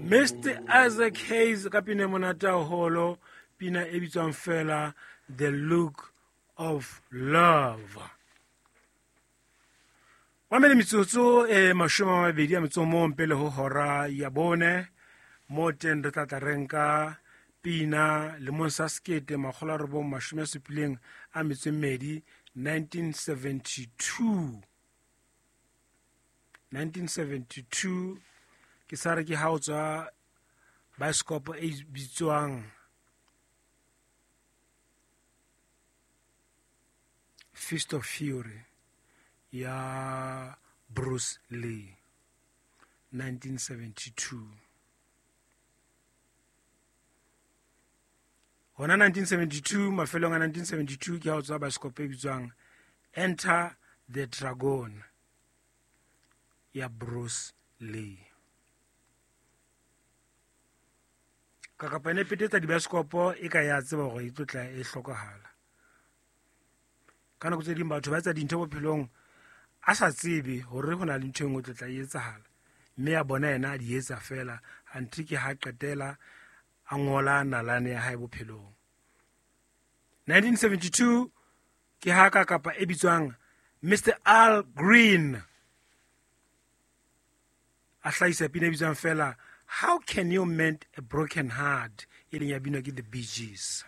Mr Isaac Hayes ka pina e monate haholo, pina e bitswang fela The Look of Love. Mamele metsotso e 21 pele ho hora ya bone, mo teng re tla tla re nka pina lemong sa 1972, 1972. 1972 ke sa re ke ha o tswa baesekopo e bitswang Fist of Fury ya Bruce Lee, 1972. Hona 1972, mafelong a 1972 ke ha o tswa baesekopo e bitswang Enter the Dragon ya Bruce Lee. Ka kapa ene petetsa dibaesekopo e ka ya tseba hore e tlo tla e hlokahala. Ka nako tse ding batho ba etsa dintho bophelong a sa tsebe hore ho na le ntho e nngwe e tlo tla e etsahala, mme a bona yena a di etsa fela, anthe ke ha qetela a ngola nalane ya hae bophelong. 1972 ke ha ka kapa e bitswang Mr Al Green a hlahisa pina e bitswang fela How Can You Mend a Broken Heart, e leng ya binwa ke The Bee Gees.